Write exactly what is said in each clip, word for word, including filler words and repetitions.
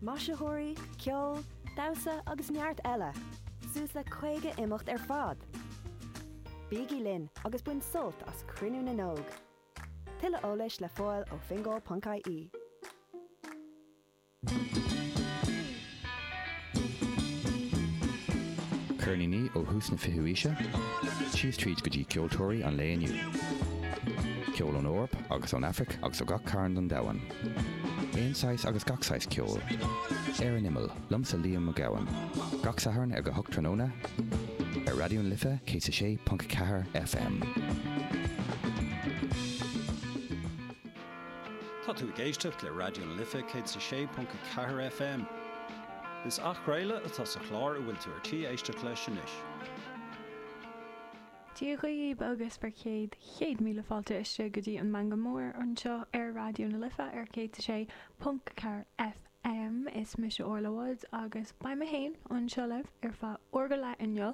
Maisitheoirí, ceol, damhsa agus neart eile, suas le caoga imeacht ar fad. Bígí linn agus bain sult as Cruinniú na nÓg. Tuilleadh eolais le fáil ó fingal.ie. Ceirníní ó thús na fichiú haoise, síos tríd go dtí ceoltóirí an lae inniu. Ceol ón Eoraip agus ón Afraic agus ó gach cearn den domhan. Aon saghas agus gach saghas ceoil. Ar an Imeall, liomsa Liam Mac Gabhann. Gach Satharn ag a hocht tráthnóna ar Raidió na Life céad a sé ponc a ceathair FM. Tá tú ag éisteacht le Raidió na Life céad a sé ponc a ceathair FM. Is athchraoladh atá sa chlár a bhfuil tú ar tí éisteacht leis anois. Dia dhaoibh agus bhur chéad chéad míle fáilte isteach go dtí an Meangadh Mór anseo ar Raidió na Life ar céad a sé ponc a ceathair FM. Is mise Orla Woods agus beidh mé féin anseo libh ar feadh uair go leith inniu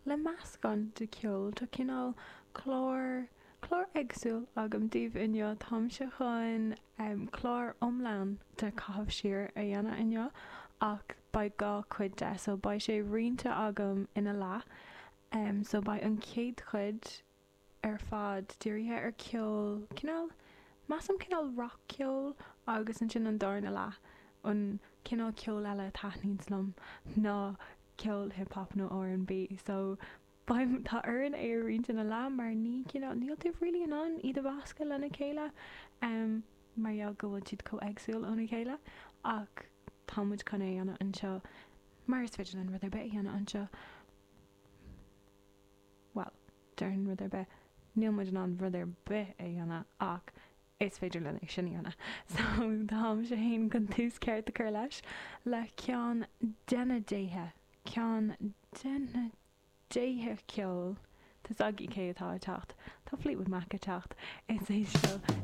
le meascán de cheol. Tá cineál clár clár éagsúil agam daoibh inniu. Táimse chun clár iomlán de caitheamh siar a dhéanamh inniu ach beidh dhá chuid de so beidh sé roinnte agam ina leath. Um, so beidh an chéad chuid ar fad dírithe ar ceol cineál measaim cineál rac-cheol agus ansin an darna leath an cineál ceol eile a taitníonns liom ná ceol hip hop nó R and B. So beidh tá orainn é a roinnt ina leath mar ní cineál níl tú really in ann iad a mheascadh lena chéile um, mar gheall go bhfuil siad chomh éagsúil óna chéile ach tá muid chun é a dhéanamh anseo mar is féidir linn rud ar bith a dhéanamh anseo. Well, déarfainn rud ar bith, níl muid in ann rud ar bith a dhéanamh ach is féidir linn é sin a dhéanamh. So táimse féin chun tús ceart a chur leis le ceann de na déithe, ceann de na déithe ceoil. Tá a fhios agaibh cé atá ag teacht. Tá Fleetwood Mac ag teacht. Is é seo